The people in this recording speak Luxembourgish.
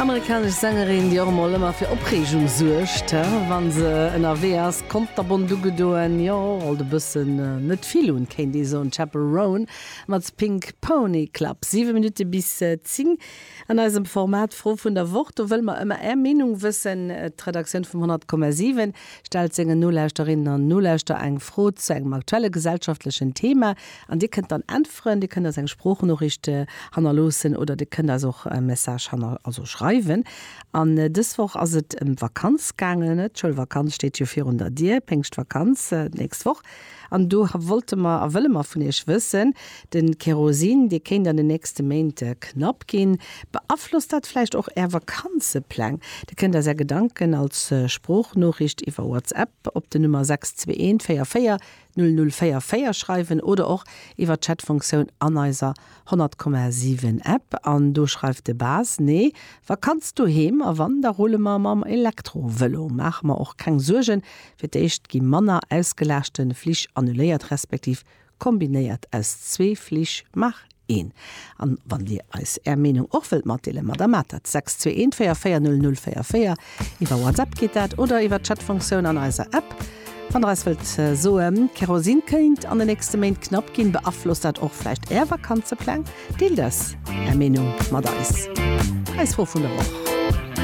Amerikanesch Sängerin, déi och emol ëmmer fir Opreegung suergt, wa se ënnerwee ass. Konterbont ugedoen, jo, alt e bëssen net vill un, kéint ee soen. Chappell Roan mat Pink Pony Club. 7 Minutte bis 10 an eisem Format Fro vun der Woch. Do wëlle mer ëmmer Är Meenung wëssen. D'Redaktioun vum 100,7 stellt sengen Nolauschterinnen an Nolauschter eng Fro zu engem aktuelle gesellschaftlechen Thema an Dir kënnt dann äntweren. Dir kënnt eis eng Sproochnoriicht hannerloossen oder Dir kënnt eis och e Message hanner, also schreiwen. An dës Woch ass et ëm d'Vakanz gaangen. D'Schoulvakanz steet jo virun der Dier, Péngschtvakanz d'nächst Woch. An do wollte mer a wëlle mer vun Iech wëssen, De Kerosin, dee kéint an den nächste Méint knapp ginn. Beaflosst dat vläicht och Är Vakanzepläng? Dir kënnt eis Är Gedanken als Sproochnoriicht iwwer WhatsApp op den Nummer 621 44 0044 schreiwen oder och iwwer d'Chatfunktioun an eiser 100,7 App. An do schreift de Bas, Nee, Vakanz doheem a wann, da rulle mer mam Elektrovëlo. Maache mer och keng Suergen, Fir d'éischt gi manner ausgelaaschte Flich annuléiert, respektiv kombinéiert aus zwee Flich maach een. An wann Dir eis Är Meenung och wëllt matdeelen, ma da maacht dat, 621 44 00 44, iwwer WhatsApp geet dat oder iwwer d'Chatfunktioun an eiser App. Wann Der eis wëllt soen, Kerosin kéint an de nächste Méint knapp ginn, beaflosst dat och vläicht Är Vakanzepläng? Deelt eis Är Meenung mat eis. Eis Fro vun der Woch.